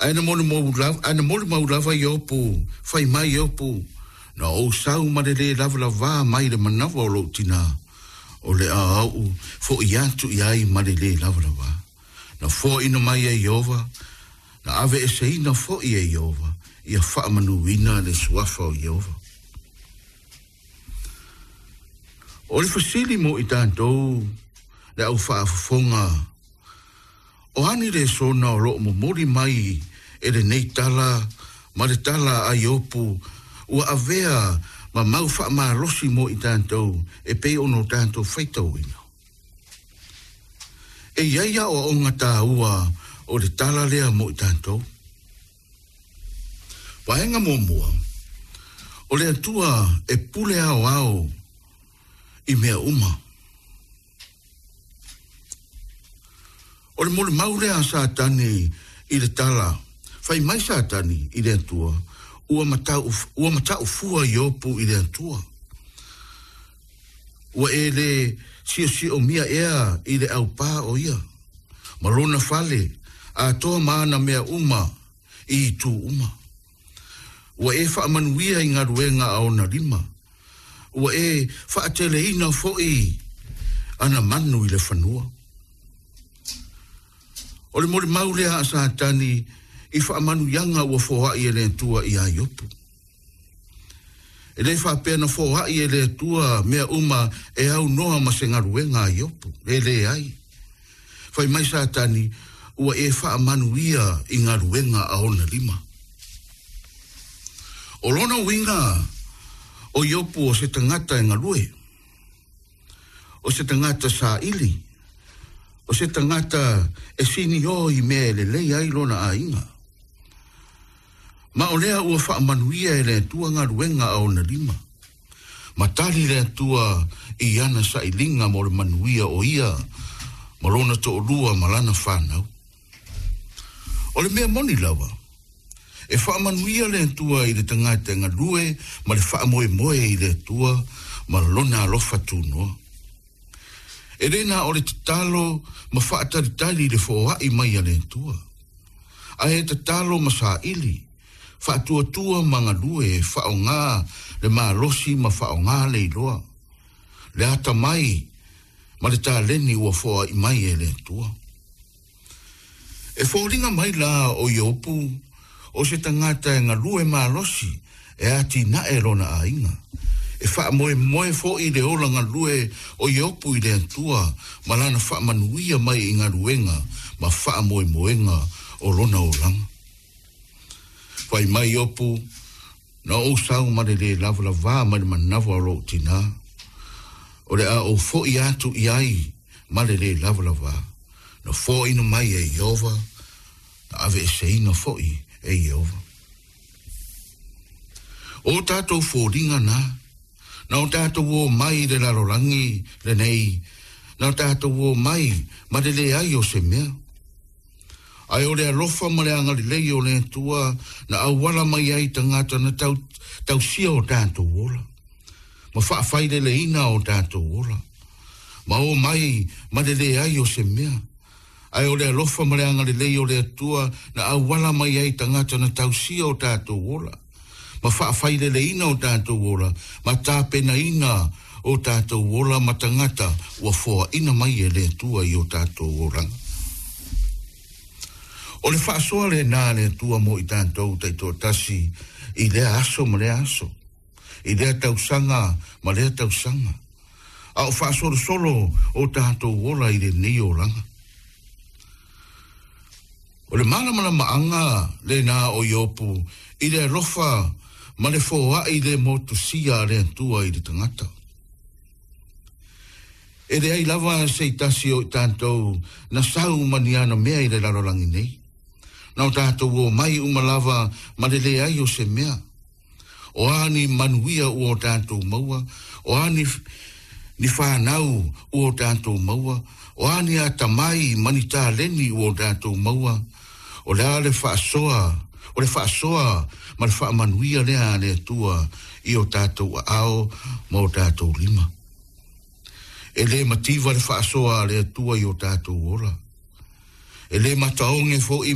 Ae na molimau lava Iopu, fai mai Iopu, Na ou sau ma le lē lavalavā mai le manava o lou tinā, o le a ou foʻi atu i ai ma le lē lavalavā. Na foaina mai e Ieova, na aveeseina foʻi e Ieova, ia faamanuina le suafa o Ieova. O le fesili mo i tatou le au faafofoga, O a ni lesona o lo o momoli mai e lenei tala ma le tala a Iopu ua avea ma mau faamalosi mo i tatou e pei ona o tatou faitauina? E i ai aoaoga taua o le tala lea mo i tatou. Vaega muamua, o le Atua e pule aoao i mea uma. O le molimau lea a Satani i le tala, Fai mai Satani i le Atua, ua matau, ua matau fua Iopu i le Atua. Ua e le siosiomia ea i le aupā o ia, ma lona fale, atoa ma ana mea uma i itu uma. Ua e faamanuia i galuega a ona lima. Ua e faateleina foi ana manu i le fanua. O le molimau lea a Satani i faamanuiaga ua foai e le Atua iā Iopu. E le faapea na foai e le Atua mea uma e aunoa ma se galuega a Iopu, e leai. Fai mai Satani, Ua e faamanuia i galuega a ona lima. O lona uiga, o Iopu o se tagata e galue, o se tagata saili, o se tagata e siniō i mea e lelei ai lona aiga. Ma o lea ua faamanuia e le Atua galuega a ona lima. Ma tali le Atua i ana sailiga mo le manuia o ia ma lona toalua ma lana fanau. O le mea moni lava, e faamanuia le Atua i le tagata e galue ma le faamoemoe i le Atua ma lona alofa tunoa. E le na o le tatalo ma faatalitali i le foai mai a le Atua, ae tatalo ma saili, faatuatua ma galue e faaaoga le malosi ma faaaoga le iloa, le atamai ma le taleni ua foai mai e le Atua. E foliga mai la o Iopu o se tagata e galue malosi e atinae lona aiga. E faamoemoe foi le ola galue o Iopu i le Atua ma lana faamanuia mai i galuega ma faamoemoega o lona olaga. Fai mai Iopu, Na ou sau ma le lē lavalavā mai le manava o lou tinā, o le a ou foʻi atu i ai ma le lē lavalavā, na foaina mai e Ieova, na aveeseina foʻi e Ieova. O tatou foliga na, na o tatou o mai i le lalolagi lenei, na o tatou o mai ma le leai o se mea. Ae o le alofa ma le agalelei o le Atua na auala mai ai tagata na tau, tausia o tatou ola, ma faafaileleina o tatou ola, ma o mai ma le leai o se mea. Ae o le alofa ma le agalelei o le Atua na auala mai ai tagata na tausia o tatou ola, ma faafaileleina o tatou ola, ma tapenaina o tatou ola ma tagata ua foaina mai e le Atua i o tatou olaga. O le faasoa lena a le Atua mo i tatou taitoatasi i lea aso ma lea aso, i lea tausaga ma lea tausaga, a o faasolosolo o tatou ola i lenei olaga. O le malamalamaaga lena o Iopu i le alofa ma le foai le motusia a le Atua i le tagata. E leai lava se i tasi o i tatou na sau ma ni ana mea i le lalolagi nei. Na o tatou o mai uma lava ma le leai o se mea. O a ni manuia ua o tatou maua, o a ni, ni fanau ua o tatou maua, o a ni atamai ma ni taleni ua o tatou maua, o le a le faasoa, o le faasoa ma le faamanuia lea a le Atua i o tatou aao ma o tatou lima. E le mativa le faasoa a le Atua i o tatou ola. E le mataoge foi